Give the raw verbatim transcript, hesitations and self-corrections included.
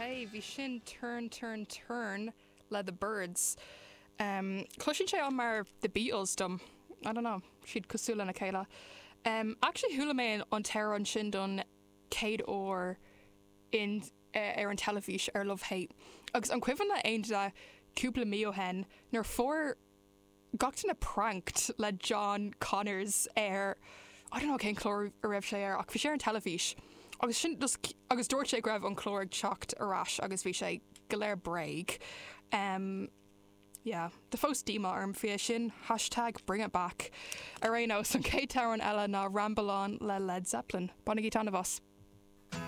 Ok, bhí sin Turn Turn Turn le The Byrds. Um, Cloiseann sé an mar The Beatles dom. I don't know, siad cosúil lena chéile. Um, actually chuala mé an t-amhrán sin don chéad uair in uh, ar an teilifís ar Love Hate. Agus an cuimhin le aon duine cúpla mí ó shin nuair fuair gach duine pranked le John Connors ar I don't know cén chlár a raibh sé ar ach bhí sé ar an teilifís. Agus sin just, agus dúirt sé go raibh an clár ag teacht ar ais agus bhí sé go léir bréag. Um, yeah, tá fós díomá orm faoi sin hashtag bring it back. Ar aon nós an chéad amhrán eile ná Ramble On le Led Zeppelin. Bainigí taitneamh as.